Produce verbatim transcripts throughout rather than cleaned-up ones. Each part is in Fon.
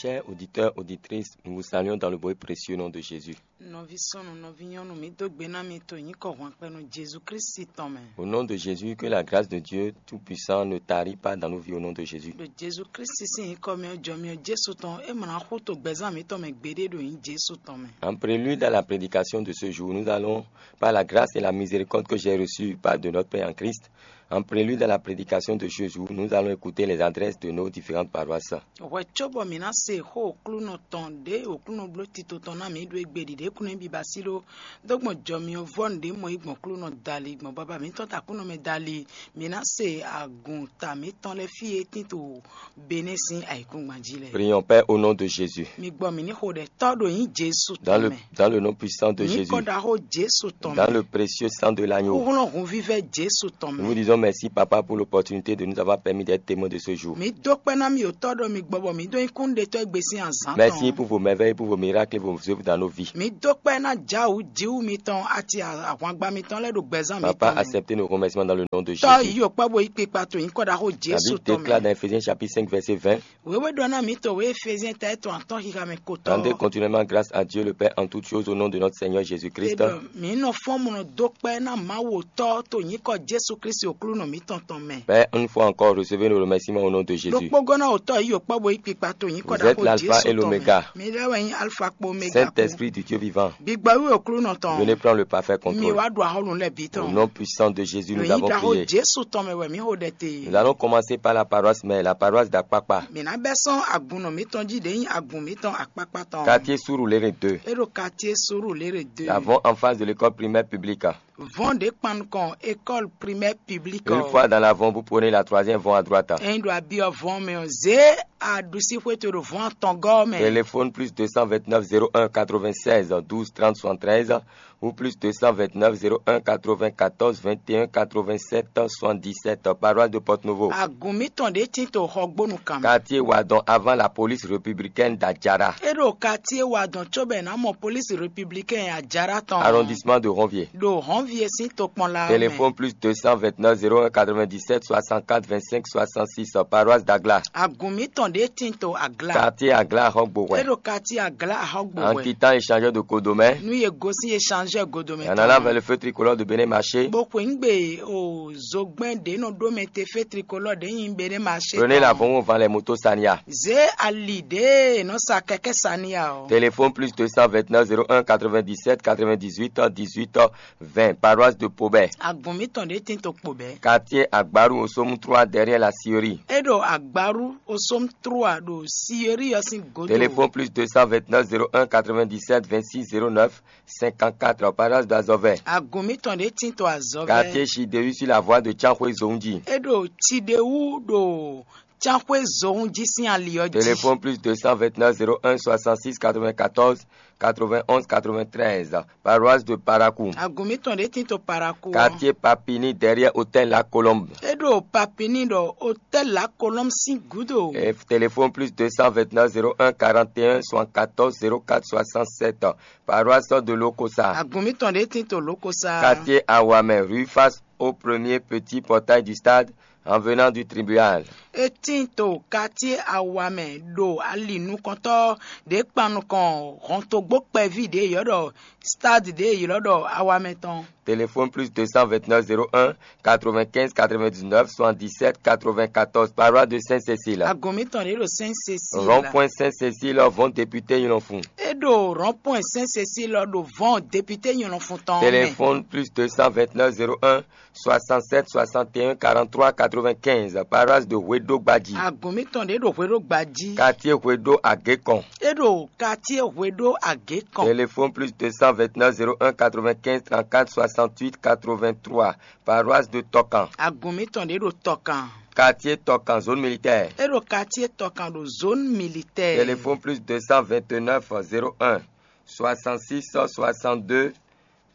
Chers auditeurs, auditrices, nous vous saluons dans le beau et précieux nom de Jésus. Nɔví súnnu, nɔví nyɔnu, mǐ dó gbe ná mi to nyǐkɔ hwanpɛnu Jezu Klísu tɔn mɛ. Au nom de Jésus, que la grâce de Dieu Tout-Puissant ne tarit pas dans nos vies au nom de Jésus. Ɖo Jezu Klísu sín nyǐkɔ mɛ ɔ́, jɔ mì ɔ́ Jesu tɔn, é mlá xú to gbɛzán mǐtɔn mɛ gbeɖé ɖo nyǐ Jesu tɔn mɛ. En prélude à la prédication de ce jour, nous allons, par la grâce et la miséricorde que j'ai reçue par de notre Père en Christ, en prélude à la prédication de ce jour, nous allons écouter les adresses de nos différentes paroisses. Hwɛ cóbɔ mǐ ná se xó Aklúnɔ tɔn ɖě Aklúnɔ bló tito tɔn ná mǐ ɖo égbé ɖiɖě kúnnu biba sí ɖó dó gbɔn jɔ mì ɔ́ vɔ́ nǔɖé mɔ yí gbɔn Aklúnɔ dali gbɔn baba mǐtɔn ta Aklúnɔ mɛ dali, mǐ ná se agun ta mǐtɔn lɛ́ɛ fí e tín to Benɛ́ sín ayǐkúngban jí lɛ́ɛ. Prions, Père, au nom de Jésus. Mi gbɔ mǐ ní xo ɖɛ tɔ́ ɖo nyǐ Jesu Dans tɔn le, mɛ. Dans le nom puissant de Mǐ Jésus. Kɔ ɖaxó Jesu tɔn Dans mɛ. Le précieux sang de l'agneau. Kúhlɔ́n hunvívɛ́ Jesu tɔn Nous vous mɛ. Disons merci, Papa, pour l'opportunité de nous avoir permis d'être témoins de ce jour. Mǐ dó kpɛ́ ná mi otɔ́ ɖɔ mi gbɔbɔ mǐ dó nyí kúnnuɖetɔ́ égbé sín azǎn Merci tɔn. Pour vos merveilles, pour vos miracles et vos œuvres dans nos vies. Mǐ dó kpɛ́ ná Jǎwu Jǐwu mitɔn ati ahwangba mitɔn lɛ́ɛ ɖo gbɛzán Papa, mǐtɔn mɛ. Acceptez nos remerciements dans le nom de Tɔ́ Jésus. Yí okpá bo yí kpikpa to nyǐkɔ ɖaxó La Jesu Bible tɔn déclare dans mɛ. Éphésiens chapitre cinq, verset vingt, Wěwé ɖɔ ná mǐ to wě Éfézíɛn ta étɔn atɔ́ xixa mɛ kotɔ́. Rendez continuellement grâce à Dieu le Père en toutes choses au nom de notre Seigneur Jésus-Christ. Ɖɔ mǐ nɔ fɔ́n mɔ dó kpɛ́ ná Mawu Tɔ́ to nyǐkɔ Jesu Klísu Aklúnɔ mǐtɔn tɔn mɛ. Père, une fois encore, recevez nos remerciements au nom de Jésus. Ɖokpógɔ́ ná otɔ́ yí okpá bo yí kpikpa to nyǐkɔ Vous êtes ɖaxó l'alpha Jesu et tɔn mɛ. L'oméga. Mi lɛ́ wɛ nyí Alfa kpo Omega Saint-Esprit du Dieu vivant. Gbigbɔ wí Aklúnɔ tɔn. Venez prendre le parfait contrôle. Mi wá ɖu ahɔ́lun lɛ́ɛ bǐ Au tɔn. Nom puissant de Jésus, Ɖo nous nyí avons ɖaxó prié. Jesu tɔn mɛ wɛ mǐ xo ɖɛ te. Nous allons commencer par la paroisse mère, la paroisse d'Akpakpa. Mǐ ná bɛ́ sɔ́n agun nɔ mǐtɔn jí ɖě nyí agun mǐtɔn akpákpá tɔn. Quartier Surulere deux. É ɖo quartier Surulere deux. Nous avons en face de l'école primaire publique. Vɔn ɖě kpan nukɔn école primaire publique Une ɔ́. Fois dans l'avant, vous prenez la troisième vont à droite. Ényí ɖo abyɔ́ vɔn mɛ ɔ́, zě aɖusíxwé to ɖo vɔn atɔngɔ́ mɛ. Téléphone plus deux cent vingt-neuf zéro un quatre-vingt-seize douze trente soixante-treize ou plus deux cent vingt-neuf zéro un quatre-vingt-quatorze vingt et un quatre-vingt-sept soixante-dix-sept, paroisse de Porte-Nouveau. Agun mǐtɔn ɖě tín to Xɔgbónu kan mɛ. Quartier Wadon avant la police républicaine d'Adjara. É ɖo quartier Wadon cóbɔ è nǎ mɔ police républicaine Adjara tɔn. Arrondissement de Ronvier. Ɖo Ronvier sín tokpɔnla ɔ́ mɛ. Téléphone plus deux cent vingt-neuf zéro un quatre-vingt-dix-sept soixante-quatre vingt-cinq soixante-six, paroisse d'Agla. Agun mǐtɔn ɖě tín to Agla. Quartier Agla Ahɔgbo É ɖo quartier Agla Ahɔgbo En quittant échangeur de Codomé, Nú yě gosín échangeur Godomɛ en allant vers le feu tricolore de Bénin Marché, Bó xweyǐgbe o zogbɛ́n ɖě nɔ ɖó mɛ te fé tricolore ɖě nyi Bénin Marché. Prenez l'avant avant les motos Sania. Zě ali ɖě nɔ sa kɛkɛ́ Sania ɔ́. Téléphone plus deux cent vingt-neuf zéro un quatre-vingt-dix-sept quatre-vingt-dix-huit dix-huit vingt, paroisse de Pobé. Agun mǐtɔn ɖě tín to kpo bɛ́. Quartier Agbaru Osomu trois derrière la scierie. É ɖo Agbaru Osomu trois ɖo scierie ɔ́ sín godo. Téléphone plus deux cent vingt-neuf zéro un quatre-vingt-dix-sept vingt-six zéro neuf cinquante-quatre, paroisse d'Azovè. Agun mǐtɔn ɖě tín to Azovè. Quartier Chidehu sur la voie de Tchankhoué Zoundji. É ɖo Chidehu ɖo Tchankhoué Zoundji sín ali ɔ́ jí. Téléphone plus deux cent vingt-neuf zéro un soixante-six quatre-vingt-quatorze quatre-vingt-onze quatre-vingt-treize, paroisse de Parakou. Agun mǐtɔn ɖě tín to Parakou. Quartier Papini derrière hôtel La Colombe. É ɖo Papini ɖo hôtel La Colombe sín gúdo. Et téléphone plus deux cent vingt-neuf zéro un quarante et un soixante-quatorze zéro quatre soixante-sept, paroisse de Lokosa. Agun mǐtɔn ɖě tín to Lokosa. Quartier Awamé, rue face au premier petit portail du stade, en venant du tribunal. É tín to quartier Awamé ɖo ali nukɔntɔ́ ɖě kpan nukɔn hɔntogbó kpɛví ɖě yɔ́ ɖɔ stade ɖě yě ylɔ́ ɖɔ Awamé tɔn. Téléphone plus deux cent vingt-neuf zéro un quatre-vingt-quinze quatre-vingt-dix-neuf soixante-dix-sept quatre-vingt-quatorze, paroisse de Sainte-Cécile. Agun mǐtɔn ɖě ɖo Sainte-Cécile. Rond-point Sainte-Cécile, vont député Yulonfun. É ɖo rond-point Sainte-Cécile ɖo vɔn député Yulonfun tɔn mɛ. Téléphone plus deux cent vingt-neuf zéro un soixante-sept soixante et un quarante-trois quatre-vingt-quinze, paroisse de Hwedo Gbadji. Agun mǐtɔn ɖě ɖo Hwedo Gbadji. Quartier Hwedo Agékɔn. É ɖo quartier Hwedo Agékɔn. Téléphone plus deux cent vingt-neuf zéro un quatre-vingt-quinze trente-quatre soixante-huit quatre-vingt-trois, paroisse de Tokan. Agun mǐtɔn ɖě ɖo Tɔkan. Quartier Tokan, zone militaire. É ɖo quartier Tɔkan ɖo zone militaire. Téléphone plus deux cent vingt-neuf zéro un soixante-six soixante-deux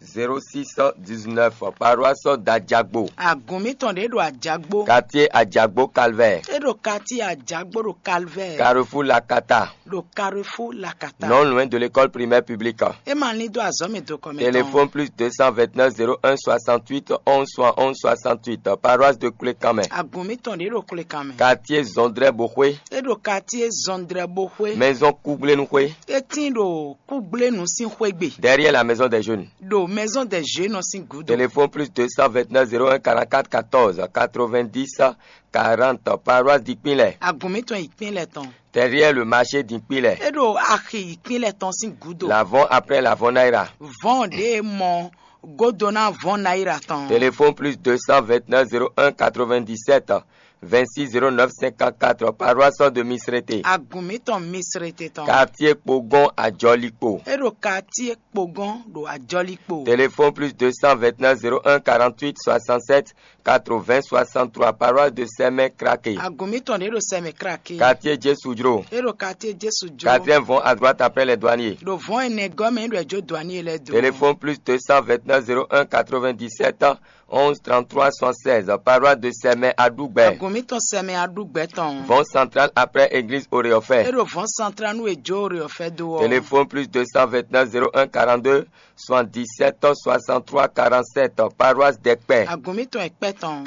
zéro six dix-neuf, paroisse d'Adjagbo. Agun mitɔn ɖě ɖo Ajagbo. Quartier Adjagbo Calvaire. É ɖo quartier Ajagbo ɖo Calvaire. Carrefour Lakata. Ɖo Carrefour Lakata. Non loin de l'école primaire publique. É ma lin dó azɔ̌ mɛ do kɔmɛ. Téléphone plus deux cent vingt-neuf zéro un soixante-huit onze soixante-huit, paroisse de Koulékanmɛ. Agun mitɔn ɖě ɖo Koulékanmɛ. Quartier Zondré Bohoué. É ɖo quartier Zondré Bohoué. Maison Kougblénouhoué. É tín ɖo Kúgblénu sín xwégbe. Derrière la maison des jeunes. Ɖo maison des jeunes sín gúdo. Téléphone plus deux cent vingt-neuf zéro un quarante-quatre quatorze quatre-vingt-dix quarante, paroisse d'Ikpinlɛ. Agun mitɔn Ikpinlɛ tɔn. Derrière le marché d'Ikpinlɛ. É ɖo axi Ikpinlɛ tɔn sín gúdo. L'avant après l'avant Naira. Vɔn ɖě mɔ godona vɔn naira tɔn. Téléphone plus deux cent vingt-neuf zéro un quatre-vingt-dix-sept vingt-six zéro neuf cinquante-quatre, paroisse de Misrete. Agun mitɔn Misrete tɔn. Quartier Pogon Adjɔlikpo. É ɖo quartier Kpogɔn ɖo Ajɔlikpo. Téléphone plus deux cent vingt-neuf zéro un quarante-huit soixante-sept quatre-vingts soixante-trois, paroisse de Sɛmɛ Krake. Agun mitɔn ɖě ɖo Sɛmɛ Krake. Quartier Jesudro. É ɖo quartier Jesu jɔ. Quatrième vont à droite après les douaniers. Ɖo vɔn ɛnɛ gɔmɛ ɖo ɛjɔ douanier lɛ do. Téléphone plus deux cent vingt-neuf zéro un quatre-vingt-dix-sept onze trente-trois soixante-seize, paroisse de Sɛmɛ Adougbe. Agun mitɔn Sɛmɛ Adougbe tɔn. Vont central après église É Oreofé. ɖo vɔn central nu ejo Oreofé do ɔ. Téléphone plus deux cent vingt-neuf zéro un quarante-deux soixante-dix-sept soixante-trois quarante-sept, paroisse d'Ekpɛ. Agun mitɔn Ekpɛ tɔn.